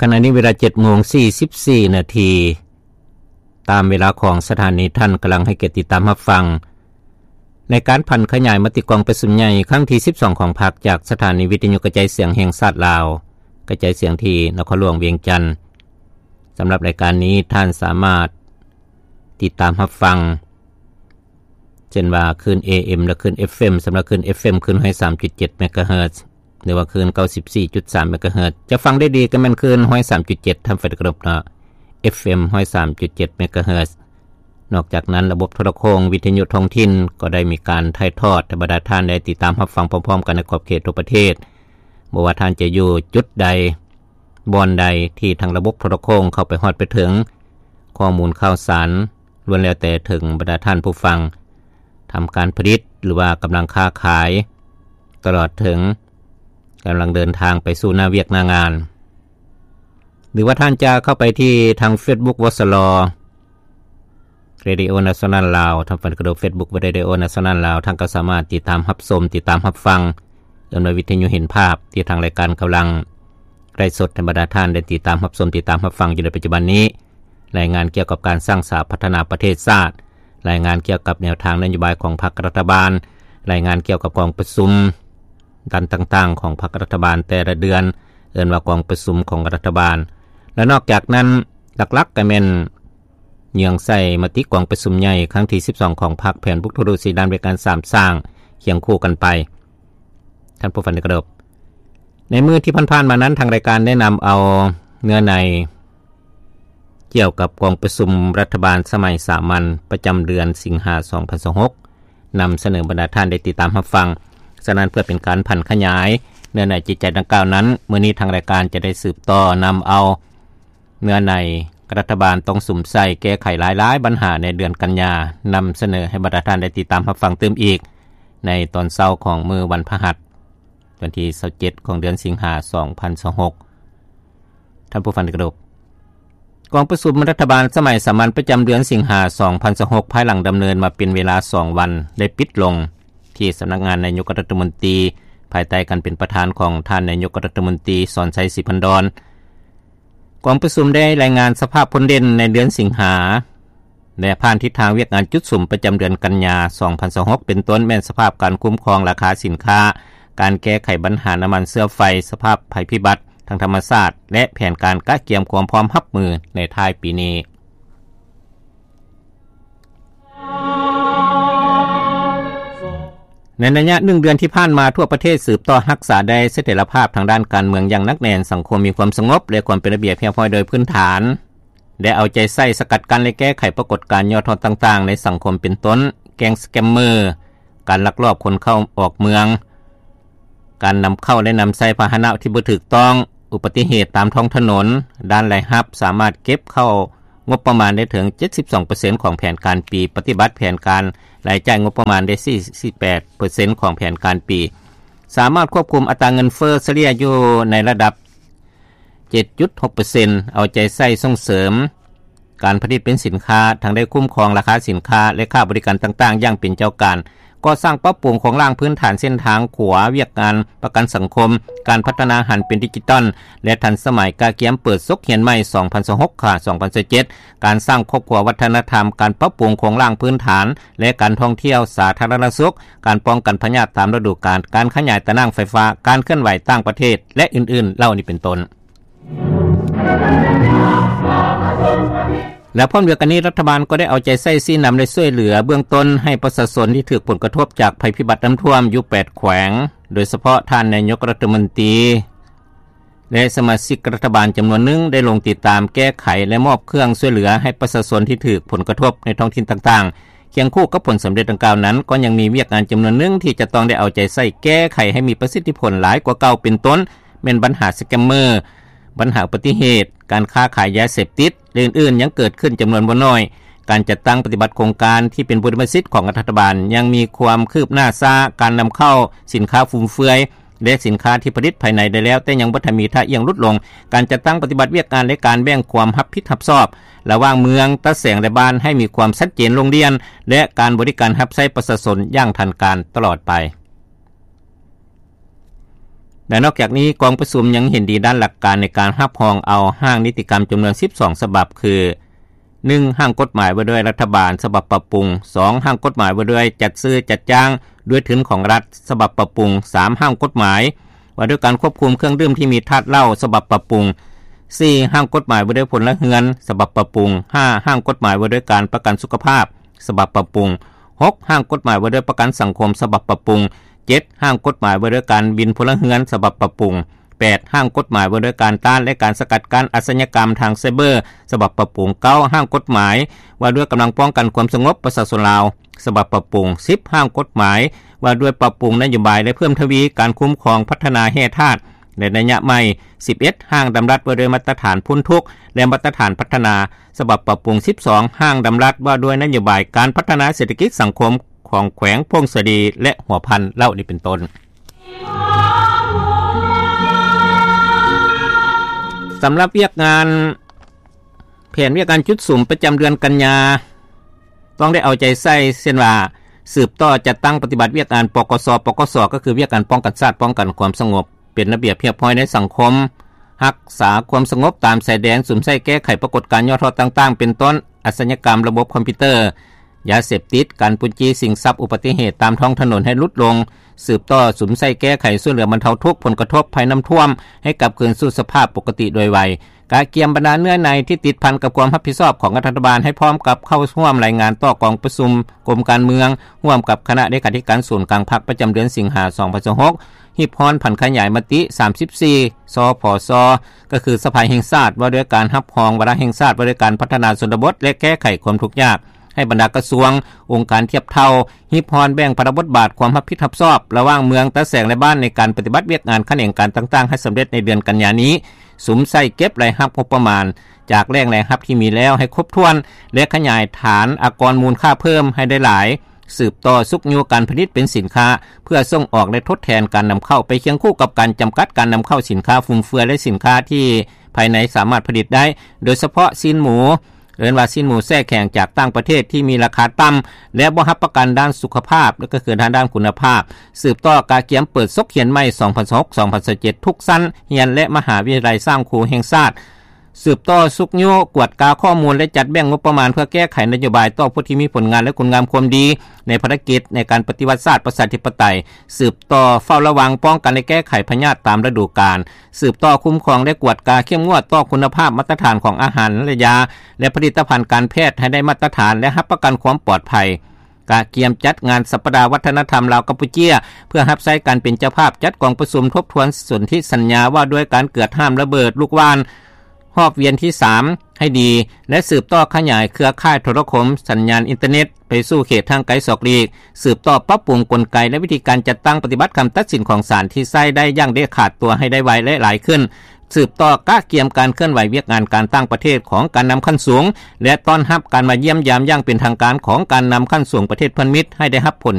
ຂະນະນີ້ເວລາເຈັດໂມງສີ່ສິບສີ່ນາທີ ຕາມເວລາຂອງສະຖານີ. ທ່ານກຳລັງໃຫ້ກຽດຕິດຕາມຮັບຟັງ ໃນການຜັນຂະຫຍາຍມະຕິກອງປະຊຸມໃຫຍ່ຄັ້ງທີສິບສອງຂອງພັກ ຈາກສະຖານີວິທະຍຸກະຈາຍສຽງແຫ່ງຊາດລາວ ກະຈາຍສຽງທີ່ນະຄອນຫຼວງວຽງຈັນ. ສຳລັບລາຍການນີ້ ທ່ານສາມາດຕິດຕາມຮັບຟັງ ເຊັ່ນວ່າ ຄື້ນ ເອເອັມ ແລະ ຄື້ນ ເອຟເອັມ. ສຳລັບຄື້ນ ເອຟເອັມ ຄື້ນ ໜຶ່ງຮ້ອຍສາມຈຸດເຈັດ ເມກາເຮີດ ຫຼືວ່າຄື້ນ ເກົ້າສິບສີ່ຈຸດສາມ ເມກາເຮີດ ຈະຟັງໄດ້ດີກໍແມ່ນຄື້ນ ໜຶ່ງຮ້ອຍສາມຈຸດເຈັດ ທ່ານຟັງໄດ້ເຄົາລົບເນາະ ເອຟເອັມ ໜຶ່ງຮ້ອຍສາມຈຸດເຈັດ ເມກາເຮີດ. ນອກຈາກນັ້ນ ລະບົບໂທລະໂຄ່ງ ວິທະຍຸທ້ອງຖິ່ນ ກໍໄດ້ມີການຖ່າຍທອດໃຫ້ບັນດາທ່ານໄດ້ຕິດຕາມຮັບຟັງພ້ອມໆກັນໃນຂອບເຂດທົ່ວປະເທດ. ບໍ່ວ່າທ່ານຈະຢູ່ຈຸດໃດ ບ່ອນໃດທີ່ທາງລະບົບໂທລະໂຄ່ງເຂົ້າໄປຮອດໄປເຖິງ ຂໍ້ມູນຂ່າວສານລ້ວນແລ້ວແຕ່ເຖິງບັນດາທ່ານຜູ້ຟັງ ທຳການຜະລິດ ຫຼືວ່າກຳລັງຄ້າຂາຍ ຕະຫຼອດເຖິງກຳລັງເດີນທາງໄປສູ່ໜ້າວຽກໜ້າງານ. ຫຼືວ່າທ່ານຈະເຂົ້າໄປທີ່ທາງເຟສບຸກ ວສລ Radio National Lao ທາງແຟນກະດູເຟສບຸກ Radio National Lao ທ່ານກໍສາມາດຕິດຕາມຮັບຊົມ ຕິດຕາມຮັບຟັງ ເອີ້ນວ່າວິທະຍຸເຫັນພາບ ທີ່ທາງລາຍການກຳລັງໄລຟ໌ສົດໃຫ້ບັນດາທ່ານໄດ້ຕິດຕາມຮັບຊົມ ຕິດຕາມຮັບຟັງຢູ່ໃນປັດຈຸບັນນີ້. ລາຍງານກ່ຽວກັບການສ້າງສາພັດທະນາປະເທດຊາດ, ລາຍງານກ່ຽວກັບແນວທາງນະໂຍບາຍຂອງພັກລັດຖະບານ, ລາຍງານກ່ຽວກັບກອງປະຊຸມດ້ານຕ່າງໆຂອງພັກລັດຖະບານແຕ່ລະເດືອນ, ເອີ້ນວ່າກອງປະຊຸມຂອງລັດຖະບານ. ແລະ ນອກຈາກນັ້ນ ຫຼັກໆກໍແມ່ນເຍືອງໃສ່ມະຕິກອງປະຊຸມໃຫຍ່ຄັ້ງທີສິບສອງຂອງພັກ, ແຜນບຸກທຸກດ້ານ, ແຜນການສ້າງສາ ຄຽງຄູ່ກັນໄປ. ທ່ານຜູ້ຟັງທີ່ເຄົາລົບ, ໃນມື້ທີ່ຜ່ານໆມານັ້ນ ທາງລາຍການໄດ້ນຳເອົາເນື້ອໃນກ່ຽວກັບກອງປະຊຸມລັດຖະບານສະໄໝສາມັນປະຈຳເດືອນສິງຫາ ສອງພັນຊາວຫົກ ນຳສະເໜີບັນດາທ່ານໄດ້ຕິດຕາມຮັບຟັງ. ສະນັ້ນ ເພື່ອເປັນການຜັນຂະຫຍາຍເນື້ອໃນຈິດໃຈດັ່ງກ່າວນັ້ນ, ມື້ນີ້ທາງລາຍການຈະໄດ້ສືບຕໍ່ນຳເອົາເນື້ອໃນລັດຖະບານຕ້ອງສຸມໃສ່ແກ້ໄຂຫຼາຍໆບັນຫາໃນເດືອນກັນຍາ, ນຳສະເໜີໃຫ້ບັນດາທ່ານໄດ້ຕິດຕາມຮັບຟັງຕື່ມອີກ ໃນຕອນເຊົ້າຂອງມື້ວັນພະຫັດ ວັນທີຊາວເຈັດຂອງເດືອນສິງຫາ ສອງພັນຊາວຫົກ. ທ່ານຜູ້ຟັງທີ່ເຄົາລົບ, ກອງປະຊຸມລັດຖະບານສະໄໝສາມັນປະຈຳເດືອນສິງຫາ ສອງພັນຊາວຫົກ ພາຍຫຼັງດຳເນີນມາເປັນເວລາສອງວັນ ໄດ້ປິດລົງທີ່ສຳນັກງານນາຍົກລັດຖະມົນຕີ ພາຍໃຕ້ການເປັນປະທານຂອງທ່ານນາຍົກລັດຖະມົນຕີ ສອນໄຊ ສີພັນດອນ. ກອງປະຊຸມໄດ້ລາຍງານສະພາບຜົນເດັ່ນໃນເດືອນສິງຫາ ແລະ ຜ່ານທິດທາງວຽກງານຈຸດສຸມປະຈຳເດືອນກັນຍາ ສອງພັນຊາວຫົກ ເປັນຕົ້ນແມ່ນສະພາບການຄຸ້ມຄອງລາຄາສິນຄ້າ, ການແກ້ໄຂບັນຫານ້ຳມັນເຊື້ອໄຟ, ສະພາບໄພພິບັດທາງທຳມະຊາດ ແລະ ແຜນການກະກຽມຄວາມພ້ອມຮັບມືໃນທ້າຍປີນີ້. ໃນໄລຍະໜຶ່ງເດືອນທີ່ຜ່ານມາ, ທົ່ວປະເທດສືບຕໍ່ຮັກສາໄດ້ສະຖຽນລະພາບທາງດ້ານການເມືອງຢ່າງໜັກແໜ້ນ, ສັງຄົມມີຄວາມສະຫງົບ ແລະ ຄວາມເປັນລະບຽບຮຽບຮ້ອຍໂດຍພື້ນຖານ, ໄດ້ເອົາໃຈໃສ່ສະກັດກັ້ນ ແລະ ແກ້ໄຂປາກົດການຫຍໍ້ທໍ້ຕ່າງໆໃນສັງຄົມ ເປັນຕົ້ນ ແກ້ງສະແກມເມີ, ການລັກລອບຂົນເຂົ້າອອກເມືອງ, ການນຳເຂົ້າ ແລະ ນຳໃຊ້ພາຫະນະທີ່ບໍ່ຖືກຕ້ອງ, ອຸບັດຕິເຫດຕາມທ້ອງຖະໜົນ. ດ້ານລາຍຮັບສາມາດເກັບເຂົ້າງົບປະມານໄດ້ເຖິງ ເຈັດສິບສອງເປີເຊັນຂອງແຜນການປີ, ປະຕິບັດແຜນການລາຍຈ່າຍງົບປະມານໄດ້ ສີ່ສິບແປດເປີເຊັນຂອງແຜນການປີ, ສາມາດຄວບຄຸມອັດຕາເງິນເຟີ້ສະເລ່ຍຢູ່ໃນລະດັບ ເຈັດຈຸດຫົກເປີເຊັນ, ເອົາໃຈໃສ່ສົ່ງເສີມການຜະລິດເປັນສິນຄ້າ, ທັງໄດ້ຄຸ້ມຄອງລາຄາສິນຄ້າ ແລະ ຄ່າບໍລິການຕ່າງໆຢ່າງເປັນເຈົ້າການ, ກໍ່ສ້າງປັບປຸງໂຄງລ່າງພື້ນຖານເສັ້ນທາງຂົວ, ວຽກງານປະກັນສັງຄົມ, ການພັດທະນາຫັນເປັນດິຈິຕອນ ແລະ ທັນສະໄໝ, ກະກຽມເປີດສົກຮຽນໃໝ່ ສອງພັນຊາວຫົກ ຫາ ສອງພັນຊາວເຈັດ, ການສ້າງຄອບຄົວວັດທະນະທຳ, ການປັບປຸງໂຄງລ່າງພື້ນຖານ ແລະ ການທ່ອງທ່ຽວສາທາລະນະສຸກ, ການປ້ອງກັນພະຍາດຕາມລະດູການ, ການຂະຫຍາຍຕາໜ່າງໄຟຟ້າ, ການເຄື່ອນໄຫວຕ່າງປະເທດ ແລະ ອື່ນໆເຫຼົ່ານີ້ເປັນຕົ້ນ. ແລະ ພ້ອມດຽວກັນນີ້, ລັດຖະບານກໍໄດ້ເອົາໃຈໃສ່ຊີ້ນຳ ແລະ ຊ່ວຍເຫຼືອເບື້ອງຕົ້ນໃຫ້ປະຊາຊົນທີ່ຖືກຜົນກະທົບຈາກໄພພິບັດນ້ຳຖ້ວມຢູ່ແປດແຂວງ, ໂດຍສະເພາະທ່ານນາຍົກລັດຖະມົນຕີ ແລະ ສະມາຊິກລັດຖະບານຈຳນວນໜຶ່ງໄດ້ລົງຕິດຕາມແກ້ໄຂ ແລະ ມອບເຄື່ອງຊ່ວຍເຫຼືອໃຫ້ປະຊາຊົນທີ່ຖືກຜົນກະທົບໃນທ້ອງຖິ່ນຕ່າງໆ. ຄຽງຄູ່ກັບຜົນສຳເລັດດັ່ງກ່າວນັ້ນ, ກໍຍັງມີວຽກງານຈຳນວນໜຶ່ງທີ່ຈະຕ້ອງໄດ້ເອົາໃຈໃສ່ແກ້ໄຂໃຫ້ມີປະສິດທິຜົນຫຼາຍກວ່າເກົ່າ, ເປັນຕົ້ນແມ່ນບັນຫາສະແກມເມີ, ບັນຫາອຸບັດຕິເຫດ, ການຄ້າຂາຍຢາເສບຕິດ ແລະ ອື່ນໆ ຍັງເກີດຂຶ້ນຈຳນວນບໍ່ໜ້ອຍ. ການຈັດຕັ້ງປະຕິບັດໂຄງການທີ່ເປັນບຸລິມະສິດຂອງລັດຖະບານຍັງມີຄວາມຄືບໜ້າຊ້າ, ການນຳເຂົ້າສິນຄ້າຟຸມເຟືອຍ ແລະ ສິນຄ້າທີ່ຜະລິດພາຍໃນໄດ້ແລ້ວ ແຕ່ຍັງບໍ່ທັນມີທ່າອ່ຽງຫຼຸດລົງ, ການຈັດຕັ້ງປະຕິບັດວຽກງານ ແລະ ການແບ່ງຄວາມຮັບຜິດຮັບຊອບລະຫວ່າງເມືອງ, ຕາແສງ ແລະ ບ້ານໃຫ້ມີຄວາມຊັດເຈນລົງດຽນ ແລະ ການບໍລິການຮັບໃຊ້ປະຊາຊົນຢ່າງທັນການຕະຫຼອດໄປ. ແລະ ນອກຈາກນີ້ ກອງປະຊຸມຍັງເຫັນດີດ້ານຫຼັກການໃນການຮັບຮອງເອົາຮ່າງນິຕິກຳຈຳນວນສິບສອງສະບັບ ຄື ໜຶ່ງ ຮ່າງກົດໝາຍວ່າດ້ວຍລັດຖະບານສະບັບປັບປຸງ, ສອງ ຮ່າງກົດໝາຍວ່າດ້ວຍຈັດຊື້ຈັດຈ້າງດ້ວຍທຶນຂອງລັດສະບັບປັບປຸງ, ສາມ ຮ່າງກົດໝາຍວ່າດ້ວຍການຄວບຄຸມເຄື່ອງດື່ມທີ່ມີທາດເຫຼົ້າສະບັບປັບປຸງ, ສີ່ ຮ່າງກົດໝາຍວ່າດ້ວຍພົນລະເຮືອນສະບັບປັບປຸງ, ຫ້າ ຮ່າງກົດໝາຍວ່າດ້ວຍການປະກັນສຸຂະພາບສະບັບປັບປຸງ, ຫົກ ຮ່າງກົດໝາຍວ່າດ້ວຍປະກັນສັງຄົມສະບັບປັບປຸງ, ເຈັດ ຮ່າງກົດໝາຍວ່າດ້ວຍການບິນພົນລະເຮືອນສະບັບປັບປຸງ, ແປດ ຮ່າງກົດໝາຍວ່າດ້ວຍການຕ້ານ ແລະ ການສະກັດກັ້ນອາຊະຍາກຳທາງໄຊເບີສະບັບປັບປຸງ, ເກົ້າ ຮ່າງກົດໝາຍວ່າດ້ວຍກຳລັງປ້ອງກັນຄວາມສະຫງົບປະຊາຊົນລາວສະບັບປັບປຸງ, ສິບ ຮ່າງກົດໝາຍວ່າດ້ວຍປັບປຸງນະໂຍບາຍ ແລະ ເພີ່ມທະວີການຄຸ້ມຄອງພັດທະນາແຮ່ທາດ ແລະ ໄລຍະໃໝ່, ສິບເອັດ ຮ່າງດຳລັດວ່າດ້ວຍມາດຕະຖານພົ້ນທຸກ ແລະ ມາດຕະຖານພັດທະນາສະບັບປັບປຸງ, ສິບສອງ ຮ່າງດຳລັດວ່າດ້ວຍນະໂຍບາຍການພັດທະນາເສດຖະກິດສັງຄົມຂອງແຂວງຜົ້ງສາລີ ແລະ ຫົວພັນ ເຫຼົ່ານີ້ເປັນຕົ້ນ. ສຳລັບວຽກງານ ແຜນວຽກງານຈຸດສຸມປະຈຳເດືອນກັນຍາ ຕ້ອງໄດ້ເອົາໃຈໃສ່ ເຊັ່ນວ່າ ສືບຕໍ່ຈັດຕັ້ງປະຕິບັດວຽກງານ ປກສ, ປກສ ກໍຄືວຽກງານປ້ອງກັນຊາດ, ປ້ອງກັນຄວາມສະຫງົບ, ເປັນລະບຽບຮຽບຮ້ອຍໃນສັງຄົມ, ຮັກສາຄວາມສະຫງົບຕາມຊາຍແດນ, ສຸມໃສ່ແກ້ໄຂປາກົດການຫຍໍ້ທໍ້ຕ່າງໆ ເປັນຕົ້ນ ອາຊະຍາກຳລະບົບຄອມພິວເຕີ, ຢາເສບຕິດ, ການປຸ້ນຈີ້ຊິງຊັບ, ອຸບັດຕິເຫດຕາມທ້ອງຖະໜົນໃຫ້ຫຼຸດລົງ, ສືບຕໍ່ສຸມໃສ່ແກ້ໄຂຊ່ວຍເຫຼືອບັນເທົາທຸກຜົນກະທົບໄພນ້ຳຖ້ວມໃຫ້ກັບຄືນສູ່ສະພາບປົກກະຕິໂດຍໄວ, ກະກຽມບັນດາເນື້ອໃນທີ່ຕິດພັນກັບຄວາມຮັບຜິດຊອບຂອງລັດຖະບານໃຫ້ພ້ອມກັບເຂົ້າຮ່ວມລາຍງານຕໍ່ກອງປະຊຸມກົມການເມືອງ ຮ່ວມກັບຄະນະເລຂາທິການສູນກາງພັກປະຈຳເດືອນສິງຫາ ສອງພັນຊາວຫົກ, ຮີບຮ້ອນຜັນຂະຫຍາຍມະຕິ ສາມສິບສີ່ ສພສ ກໍຄືສະພາແຫ່ງຊາດ ວ່າດ້ວຍການຮັບຮອງວາລະແຫ່ງຊາດ ວ່າດ້ວຍການພັດທະນາຊົນນະບົດ ແລະ ແກ້ໄຂຄວາມທຸກຍາກ ໃຫ້ບັນດາກະຊວງ, ອົງການທຽບເທົ່າ ຮີບຮ້ອນແບ່ງພາລະບົດບາດຄວາມຮັບຜິດຮັບຊອບລະຫວ່າງເມືອງ, ຕາແສງ ແລະ ບ້ານ ໃນການປະຕິບັດວຽກງານຂະແໜງການຕ່າງໆ ໃຫ້ສຳເລັດໃນເດືອນກັນຍານີ້, ສຸມໃສ່ເກັບລາຍຮັບງົບປະມານຈາກແຫຼ່ງລາຍຮັບທີ່ມີແລ້ວໃຫ້ຄົບຖ້ວນ ແລະ ຂະຫຍາຍຖານອາກອນມູນຄ່າເພີ່ມໃຫ້ໄດ້ຫຼາຍ, ສືບຕໍ່ຊຸກຍູ້ການຜະລິດເປັນສິນຄ້າເພື່ອສົ່ງອອກ ແລະ ທົດແທນການນຳເຂົ້າ ໄປຄຽງຄູ່ກັບການຈຳກັດການນຳເຂົ້າສິນຄ້າຟຸມເຟືອຍ ແລະ ສິນຄ້າທີ່ພາຍໃນສາມາດຜະລິດໄດ້, ໂດຍສະເພາະຊີ້ນໝູ ເອີ້ນວ່າຊີ້ນໝູແຊ່ແຂງຈາກຕ່າງປະເທດທີ່ມີລາຄາຕ່ຳ ແລະ ບໍ່ຮັບປະກັນດ້ານສຸຂະພາບ ແລະ ກໍຄືທາງດ້ານຄຸນນະພາບ, ສືບຕໍ່ກະກຽມເປີດສົກຮຽນໃໝ່ ສອງພັນຊາວຫົກ ສອງພັນຊາວເຈັດ ທຸກຊັ້ນຮຽນ ແລະ ມະຫາວິທະຍາໄລສ້າງຄູແຫ່ງຊາດ, ສືບຕໍ່ຊຸກຍູ້ກວດກາຂໍ້ມູນ ແລະ ຈັດແບ່ງງົບປະມານເພື່ອແກ້ໄຂນະໂຍບາຍຕໍ່ຜູ້ທີ່ມີຜົນງານ ແລະ ຄຸນງາມຄວາມດີໃນພາລະກິດໃນການປະຕິວັດຊາດປະຊາທິປະໄຕ, ສືບຕໍ່ເຝົ້າລະວັງ, ປ້ອງກັນ ແລະ ແກ້ໄຂພະຍາດຕາມລະດູການ, ສືບຕໍ່ຄຸ້ມຄອງ ແລະ ກວດກາເຂັ້ມງວດຕໍ່ຄຸນນະພາບມາດຕະຖານຂອງອາຫານ ແລະ ຢາ ແລະ ຜະລິດຕະພັນການແພດໃຫ້ໄດ້ມາດຕະຖານ ແລະ ຮັບປະກັນຄວາມປອດໄພ. ກະກຽມຈັດງານສັບປະດາວັດທະນະທຳລາວ-ກຳປູເຈຍ ເພື່ອຮັບໃຊ້ການເປັນເຈົ້າພາບຈັດກອງປະຊຸມທົບທວນສົນທິສັນຍາວ່າດ້ວຍການເກືອດຫ້າມລະເບີດລູກຫວ່ານຮອບວຽນທີສາມໃຫ້ດີ ແລະ ສືບຕໍ່ຂະຫຍາຍເຄືອຂ່າຍໂທລະຄົມສັນຍານອິນເຕີເນັດໄປສູ່ເຂດຫ່າງໄກສອກຫຼີກ, ສືບຕໍ່ປັບປຸງກົນໄກ ແລະ ວິທີການຈັດຕັ້ງປະຕິບັດຄຳຕັດສິນຂອງສານທີ່ໃຊ້ໄດ້ຢ່າງເດັດຂາດຕົວໃຫ້ໄດ້ໄວ ແລະ ຫຼາຍຂຶ້ນ. ສືບຕໍ່ກະກຽມການເຄື່ອນໄຫວວຽກງານການຕ່າງປະເທດຂອງການນຳຂັ້ນສູງ ແລະ ຕ້ອນຮັບການມາຢ້ຽມຢາມຢ່າງເປັນທາງການຂອງການນຳຂັ້ນສູງປະເທດເພື່ອນມິດໃຫ້ໄດ້ຮັບຜົນ